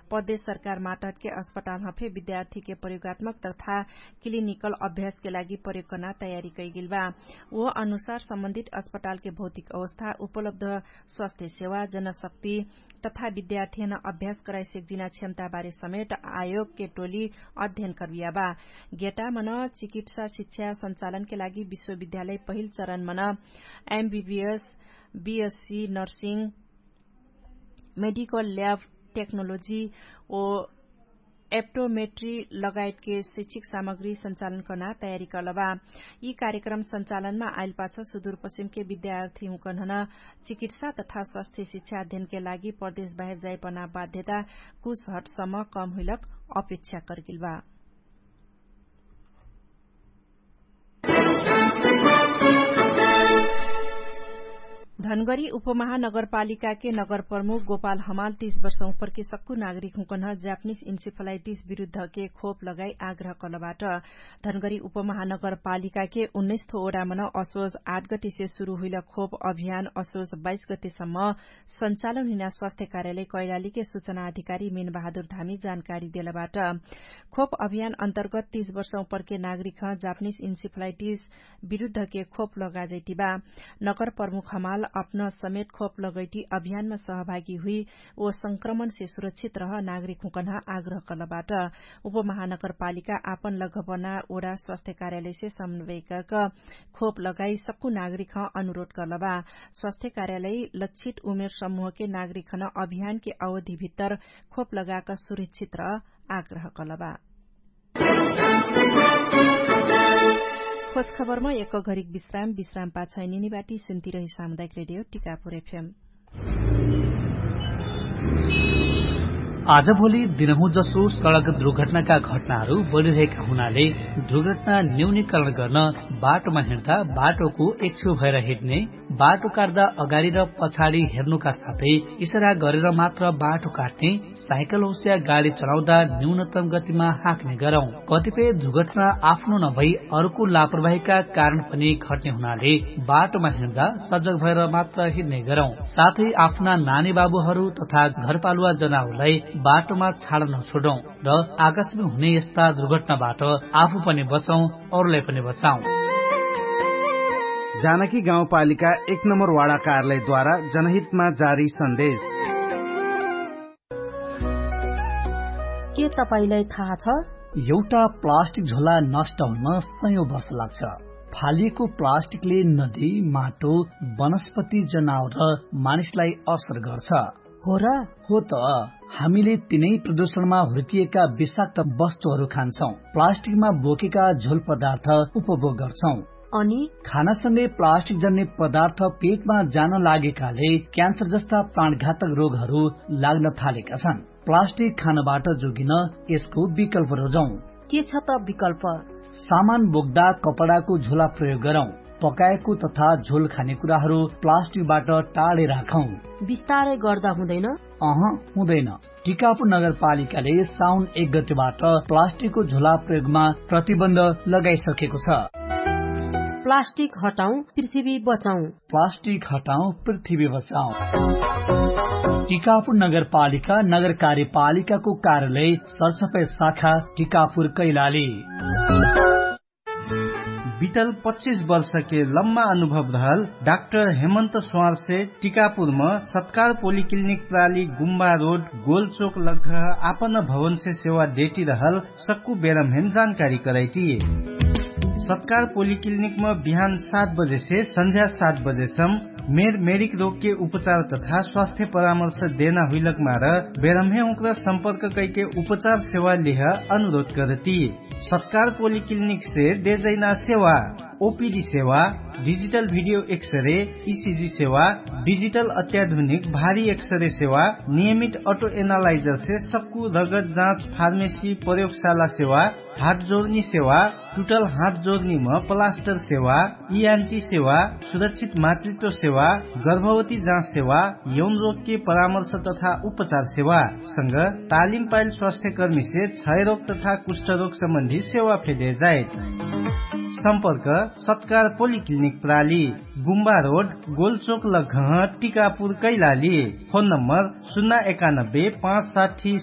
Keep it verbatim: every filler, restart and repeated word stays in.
प्रदेश सरकार माटहटके अस्पतालमा फे विद्यार्थीके प्रयोगात्मक तथा क्लिनिकल अभ्यासके लागि प्रयोग कर्ना तयारी कैगेल बा। ओ अनुसार सम्बन्धित अस्पतालके भौतिक अवस्था, उपलब्ध स्वास्थ्य सेवा, जनशक्ति तथा विद्यार्थीहन अभ्यास कराइसेक जिना क्षमताबारे समेट आयोगके टोली अध्ययन कर्बिया बा। गेटामन चिकित्सा शिक्षा सञ्चालनके लागि विश्वविद्यालय पहिल चरणमन MBBS, BSc nursing, medical lab technology ओ एप्टोमेट्री लगायतके शैक्षिक सामग्री सञ्चालन कर्ना तयारी कलबा। यी कार्यक्रम सञ्चालनमा आइलपाछ सुदूरपश्चिमके विद्यार्थी हुँकन्हन चिकित्सा तथा स्वास्थ्य शिक्षा अध्ययनके लागि प्रदेश बाहेर जाइपना बाध्यता कुछ हटसम्म कम हुइलक अपेक्षा कर्गिलबा। धनगरी उपमहानगरपालिकाके नगरप्रमुख गोपाल हमाल तीस वर्ष उपरके सक्कु नागरिक हुँकन्ह जापनिस इन्सिफलाइटिस विरुद्धके खोप लगाई आग्रह कलबाट। धनगरी उपमहानगरपालिकाके उन्नैस थो ओडामन असोज आठ गटिसे सुरु हुइल खोप अभियान असोज बाइस गटिसम्म सञ्चालन हुइना स्वास्थ्य कार्यालय कैलालीके सुचना अधिकारी मेन बहादुर धामी जानकारी देलबाट। खोप अभियान अन्तर्गत तीस वर्ष उपरके नागरिक ह जापनिस इन्सिफलाइटिस विरुद्धके खोप लगाजैटिबा। नगर प्रमुख हमाल अपना समेत खोप लगैटी अभियानमा सहभागी हुइ ओ संक्रमणसे सुरक्षित रह नागरिक हुँकन्ह आग्रह कलबाट। उपमहानगरपालिका आपन लगभना ओडा स्वास्थ्य कार्यालयसे समन्वयक खोप लगाई सक्कु नागरिक ह अनुरोध कलबा। स्वास्थ्य कार्यालय लक्षित उमेर समूहके नागरिक हन अभियानके अवधिभित्तर खोप लगाक सुरक्षित रह आग्रह कलबा। खोज खबरमा एक घरिक विश्राम विश्राम पाछै निनिबाटी सुन्ती रही सामुदायिक रेडियो टिकापुर एफएम। आजभोलि दिनहुँ जसो सडक दुर्घटनाका घटनाहरू बढिरहेका हुनाले दुर्घटना न्यूनीकरण गर्न बाटोमा हिँड्दा बाटोको एक्छु भएर हिँड्ने, बाटो काट्दा अगाडि र पछाडि हेर्नुका साथै इसारा गरेर मात्र बाटो काट्ने, साइकल होस्या गाडी चलाउँदा न्यूनतम गतिमा हाँक्ने गरौँ। कतिपय दुर्घटना आफ्नो नभई अर्को लापरवाहीका कारण पनि घट्ने हुनाले बाटोमा हिँड्दा सजग भएर मात्र हिँड्ने गरौँ। साथै आफ्ना नानी बाबुहरू तथा घरपालुवा जनाउलाई बाटोमा छाड नछोडौँ र आकाशमा हुने यस्ता दुर्घटनाबाट आफू पनि बचौँ, अरूलाई पनि बचाउँ। जानकी गाउँपालिका एक नम्बर वाडा कार्यालयद्वारा जनहितमा जारी सन्देश। के तपाईंलाई थाहा छ? एउटा प्लास्टिक झोला नष्ट हुन सयौं वर्ष लाग्छ। फालिएको प्लास्टिकले नदी, माटो, वनस्पति, जनावर र मानिसलाई असर गर्छ। हो र? हो त। हामीले तिनै प्रदूषणमा हुर्किएका विषाक्त वस्तुहरू खान्छौं, प्लास्टिकमा बोकेका झोल पदार्थ उपभोग गर्छौं। अनि खानासँगै प्लास्टिक जन्ने पदार्थ पेटमा जान लागेकाले क्यान्सर जस्ता प्राणघातक रोगहरू लाग्न थालेका छन्। प्लास्टिक खानबाट जोगिन यसको विकल्प रोजौं। के छ त विकल्प? सामान बोक्दा कपडाको झोला प्रयोग गरौं। पकाएको तथा झोल खाने कुराहरू प्लास्टिकबाट टाढे राखौं। बिस्तारै गर्दा हुँदैन? अह, हुँदैन। टिकापुर नगरपालिकाले साउन एक गतेबाट प्लास्टिकको झोला प्रयोगमा प्रतिबन्ध लगाइसकेको छ। प्लास्टिक हटाउँ, पृथ्वी बचाउँ। प्लास्टिक हटाउँ, पृथ्वी बचाउँ। टिकापुर नगरपालिका नगर कार्यपालिकाको कार्यालय सरसफाइ शाखा टिकापुर कैलाली। बितल पच्चिस वर्षके लम्बा अनुभव रहल डाक्टर हेमन्त स्वारसे टिकापुरम सत्कार पोलिक्लिनिक प्राली गुम्बा रोड गोलचोक लग्घ आपन भवनसे सेवा देटी रहल सक्कु बेरमहेन जानकारी करैटी। सत्कार पोलिक्लिनिकम बिहान सात बजेसे सन्झ्या सात बजेसम मेर मेरिक रोगके उपचार तथा स्वास्थ्य परामर्श देना हुइलक मार बेरमहे उक्र सम्पर्क कैके उपचार सेवा लिह अनुरोध करती। सत्कार पोलिक्लिनिक से देजैना सेवा ओपिडी सेवा, डिजिटल भिडियो एक्सरे, इसिजी सेवा, डिजिटल अत्याधुनिक भारी एक्सरे सेवा, नियमित अटो एनालाइजर से सक्कु रगत जाँच फार्मेसी प्रयोगशाला सेवा, हात जोर्नी सेवा, टुटल हात जोर्नीम प्लास्टर सेवा, इयान्टी सेवा, सुरक्षित मातृत्व सेवा, गर्भवती जाँच सेवा, यौन रोगके परामर्श तथा उपचार सेवा संग तालिम पाइल स्वास्थ्यकर्मीसे क्षयरोग तथा कुष्ठरोग सम्बन्धी सेवा फेदे जाइत। सम्पर्क सत्कार पोलिक्लिनिक प्राली, गुम्बा रोड, गोलचोक लग्घह, टिकापुर कैलाली। फोन नम्बर सुन्ना एकानब्बे पाँच साठी